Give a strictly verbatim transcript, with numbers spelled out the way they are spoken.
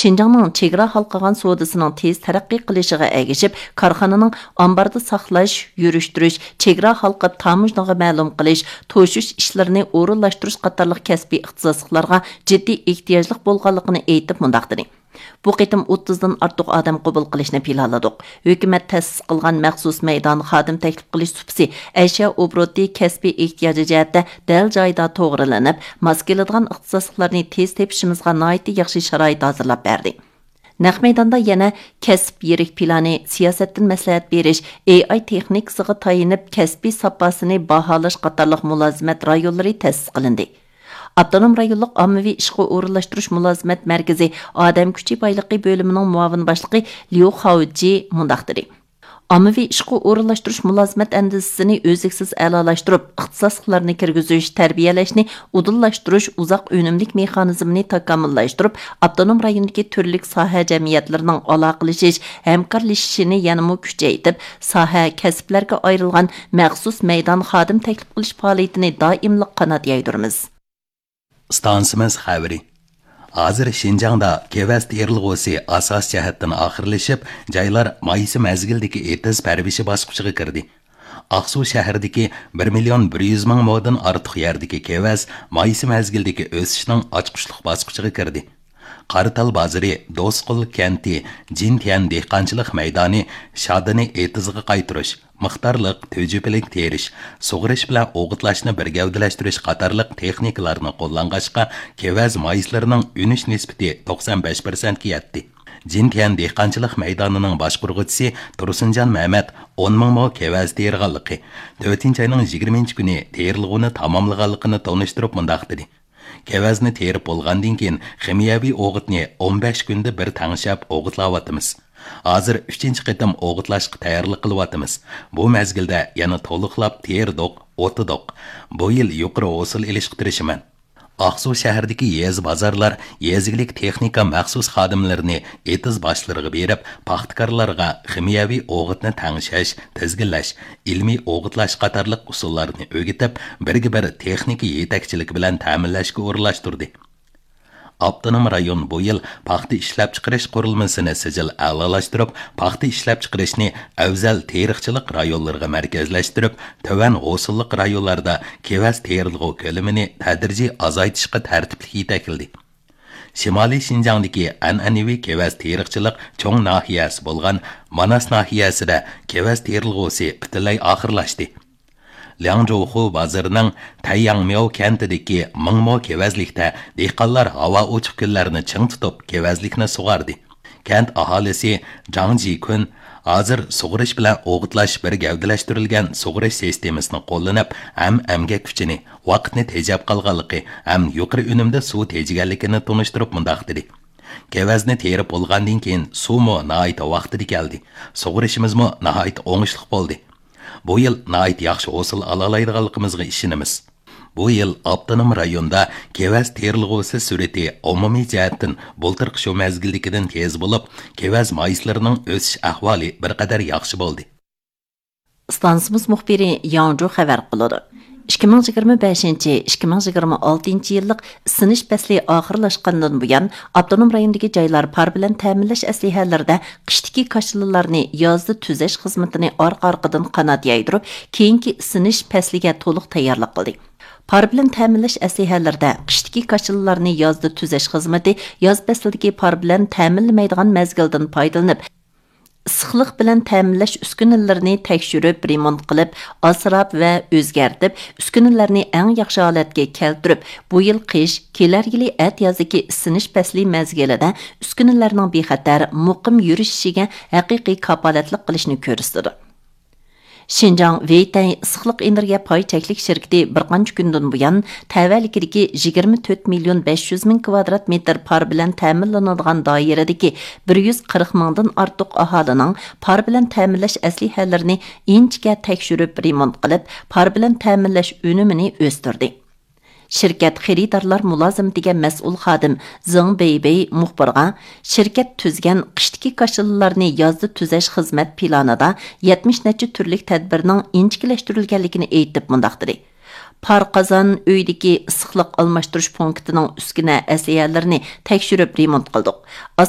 شىنجاڭنىڭ چېگرا ھالقىغان سودىسىنىڭ تېز تەرەققىي قىلىشىغا ئەگىشىپ، كارخانىنىڭ ئامباردا ساقلاش، يۈرۈشتۈرۈش، چېگرا ھالقىپ تاموژنىغا مەلۇم قىلىش، توشۇش ئىشلىرىنى ئورۇنلاشتۇرۇش قاتارلىق كەسپىي ئىختىساسلىقلارغا جىددىي ئېھتىياجلىق بولغانلىقىنى ئېيتىپ مۇنداق دېدى: بۇ قېتىم ئوتتۇزدىن ئارتۇق ئادەم قوبۇل قىلىشنى پىلانلىدۇق. ھۆكۈمەت تەسىس قىلغان مەخسۇس مەيدان خادىم تەكلىپ قىلىش سۇپىسى، ئەشيا ئوبوروتى كەسپىي ئېھتىياجى جەھەتتە دەل جايىدا توغرىلىنىپ، ماس كېلىدىغان ئىختىساسلىقلارنى تېز تېپىشىمىزغا ناھايىتى ياخشى شارائىت ھازىرلاپ بەردى. نەق مەيداندا يەنە كەسىپ يىرىك پىلانى، سىياسەتتىن مەسلىھەت بېرىش، ئېي ئاي تېخنىكىسىغا تايىنىپ كەسپىي ساپاسىنى باھالاش قاتارلىق مۇلازىمەت رايونلىرى تەسىس قىلىندى. ئاپتونوم رايونلۇق ئاممىۋى ئىشقا ئورۇنلاشتۇرۇش مۇلازىمەت مەركىزى ئادەم كۈچى بايلىقى بۆلۈمىنىڭ مۇئاۋىن باشلىقى ليۇ خاۋجى مۇنداق دېدى: ئاممىۋى ئىشقا ئورۇنلاشتۇرۇش مۇلازىمەت ئەندىزىسىنى ئۈزلۈكسىز ئەلالاشتۇرۇپ، ئىختىساسلىقلارنى كىرگۈزۈش، تەربىيەلەشنى ئۇدۇللاشتۇرۇش، ئۇزاق ئۈنۈملۈك مېخانىزمىنى تاكامۇللاشتۇرۇپ، ئاپتونوم رايوندىكى تۈرلۈك ساھە جەمئىيەتلىرىنىڭ ئالاقىلىشىش، ھەمكارلىشىشىنى يەنىمۇ كۈچەيتىپ، ساھە، كەسىپلەرگە ئايرىلغان مەخسۇس مەيدان خادىم تەكلىپ قىلىش پائالىيىتىنى دائىملىق قانات يايدۇرىمىز. ئىستانسىمىز خەۋىرى. ھازىر شىنجاڭدا كېۋەز تېرىلغۇسى ئاساسىي جەھەتتىن ئاخىرلىشىپ، جايلار مايسا مەزگىلدىكى ئېتىز پەرۋىشى باسقۇچىغا كىردى. ئاقسۇ شەھىرىدىكى بىر مىليون بىر يۈز مىڭ مودىن ئارتۇق يەردىكى كېۋەز مايسا مەزگىلدىكى ئۆسۈشنىڭ ئاچقۇچلۇق باسقۇچىغا كىردى. قاراتال بازىرى، دوسقۇل كەنتى، جىنتيەن دېھقانچىلىق مەيدانى، شادىنى ئېتىزغا قايتۇرۇش، مىقدارلىق، تۈجۈپىلىك تېرىش، سۇغىرىش بىلەن ئوغۇتلاشنى بىر گەۋدىلەشتۈرۈش قاتارلىق تېخنىكىلارنى قوللانغاچقا، كېۋەز مايسىلىرىنىڭ ئۈنۈش نىسبىتى توقسان بەش پىرسەنتكە يەتتى. جىنتيەن دېھقانچىلىق مەيدانىنىڭ باشقۇرغۇچىسى تۇرسۇنجان مەمەت ئون مىڭ مو كېۋەز تېرىغانلىقى، تۆتىنچى ئاينىڭ يىگىرمىنچى كۈنى تېرىلغۇنى تاماملىغانلىقىنى تونۇشتۇرۇپ مۇنداق دېدى: كېۋەزنى تېرىپ بولغاندىن كېيىن، خىمىيەۋى ئوغۇتنى ئون بەش كۈندە بىر تەڭشەپ ئوغۇتلاۋاتىمىز. ھازىر ئۈچىنچى قېتىم ئوغۇتلاشقا تەييارلىق قىلىۋاتىمىز. بۇ مەزگىلدە يەنە تولۇقلاپ تېرىدۇق، ئوتىدۇق. بۇ يىل يۇقىرى ھوسۇل ئېلىشقا تىرىشىمەن. ئاقسۇ شەھىرىدىكى يېزا بازارلار، يېزا ئىگىلىك تېخنىكا مەخسۇس خادىملىرىنى ئېتىز باشلىرىغا بېرىپ، پاختىكارلارغا خىمىيەۋى ئوغۇتنى تەڭشەش، تىزگىنلەش، ئىلمىي ئوغۇتلاش قاتارلىق ئۇسۇللارنى ئۆگىتىپ، بىرگە بىر تېخنىكا يېتەكچىلىكى بىلەن تەمىنلەشكە ئورۇنلاشتۇردى. ئاپتونوم رايون بۇ يىل پاختا ئىشلەپچىقىرىش قۇرۇلمىسىنى سىجىل ئەلالاشتۇرۇپ، پاختا ئىشلەپچىقىرىشنى ئەۋزەل تېرىقچىلىق رايونلىرىغا مەركەزلەشتۈرۈپ، تۆۋەن ھوسۇللۇق رايونلاردا كېۋەز تېرىلغۇ كۆلىمىنى تەدرىجىي ئازايتىشقا تەرتىپلىك يېتەكلىدى. شىمالىي شىنجاڭدىكى ئەنئەنىۋى كېۋەز تېرىقچىلىق چوڭ ناھىيەسى بولغان ماناس ناھىيەسىدە كېۋەز تېرىلغۇسى پۈتۈنلەي ئاخىرلاشتى. لياڭجۇخۇ بازىرىنىڭ تەيياڭمياۋ كەنتىدىكى مىڭ مو كېۋەزلىكتە دېھقانلار ھاۋا ئوچۇق كۈنلەرنى چىڭ تۇتۇپ، كېۋەزلىكنى سۇغاردى. كەنت ئاھالىسى جاڭ جىكۈن ھازىر سۇغىرىش بىلەن ئوغۇتلاش بىر گەۋدىلەشتۈرۈلگەن سۇغىرىش سىستېمىسىنى قوللىنىپ، ھەم ئەمگەك كۈچىنى، ۋاقىتنى تېجەپ قالغانلىقى ھەم يۇقىرى ئۈنۈمدە سۇ تېجىگەنلىكىنى تونۇشتۇرۇپ مۇنداق دېدى: كېۋەزنى تېرىپ بولغاندىن كېيىن، سۇمۇ ناھايىتى ۋاقتىدا كەلدى. سۇغىرىشىمىزمۇ ناھايىتى ئوڭۇشلۇق بولدى. بۇ يىل ناھايىتى ياخشى ھوسۇل ئالالايدىغانلىقىمىزغا ئىشىنىمىز. بۇ يىل ئاپتونوم رايوندا كېۋەز تېرىلغۇسى سۈرئىتى ئومۇمىي جەھەتتىن بۇلتۇرقى شۇ مەزگىلدىكىدىن تېز بولۇپ، كېۋەز مايسىلىرىنىڭ ئۆسۈش ئەھۋالى بىر قەدەر ياخشى بولدى. ئىستانسىمىز مۇخبىرى ياڭجۇ خەۋەر قىلىدۇ. ئىككى مىڭ يىگىرمە بەشىنچى، ئىككى مىڭ يىگىرمە ئالتىنچى يىللىق ئىسسىنىش پەسلى ئاخىرلاشقاندىن بۇيان، ئاپتونوم رايوندىكى جايلار پار بىلەن تەمىنلەش ئەسلىھەلىرىدە قىشتىكى كاشىلىلارنى يازدا تۈزەش خىزمىتىنى ئارقا-ئارقىدىن قانات يايدۇرۇپ، كېيىنكى ئىسسىنىش پەسلىگە تولۇق تەييارلىق قىلدى. پار بىلەن تەمىنلەش ئەسلىھەلىرىدە قىشتىكى كاشىلىلارنى يازدا تۈزەش خىزمىتى ياز پەسلىدىكى پار بىلەن تەمىنلىمەيدىغان مەزگىلدىن پايدىلىنىپ، ئىسسىقلىق بىلەن تەمىنلەش ئۈسكۈنىلىرىنى تەكشۈرۈپ، رېمونت قىلىپ، ئاسراپ ۋە ئۆزگەرتىپ، ئۈسكۈنىلەرنى ئەڭ ياخشى ھالەتكە كەلتۈرۈپ، بۇ يىل قىش، كېلەر يىلى ئەتىيازدىكى ئىسسىنىش پەسلى مەزگىلىدە ئۈسكۈنىلەرنىڭ بىخەتەر، مۇقىم يۈرۈشۈشىگە ھەقىقىي كاپالەتلىك قىلىشنى كۆرسىتىدۇ. شىنجاڭ ۋېيتەي ئىسسىقلىق ئېنېرگىيە پاي چەكلىك شىركىتى بىر قانچە كۈندىن بۇيان، تەۋەلىكىدىكى يىگىرمە تۆت مىليون بەش يۈز مىڭ كىۋادرات مېتىر پار بىلەن تەمىنلىنىدىغان دائىرىدىكى بىر يۈز قىرىق مىڭدىن ئارتۇق ئاھالىنىڭ پار بىلەن تەمىنلەش ئەسلىھەلىرىنى ئىنچىكە تەكشۈرۈپ، رېمونت قىلىپ، پار بىلەن تەمىنلەش ئۈنۈمىنى ئۆستۈردى. شىركەت خېرىدارلار مۇلازىمىتىگە مەسئۇل خادىم زېڭ بېيبېي مۇخبىرغا، شىركەت تۈزگەن قىشتىكى كاشىلىلارنى يازدا تۈزەش خىزمەت پىلانىدا يەتمىش نەچچە تۈرلۈك تەدبىرنىڭ ئىنچىكىلەشتۈرۈلگەنلىكىنى ئېيتىپ مۇنداق دېدى: پار قازان ئۆيدىكى ئىسسىقلىق ئالماشتۇرۇش پونكىتىنىڭ ئۈسكۈنە ئەسلىھەلىرىنى تەكشۈرۈپ رېمونت قىلدۇق.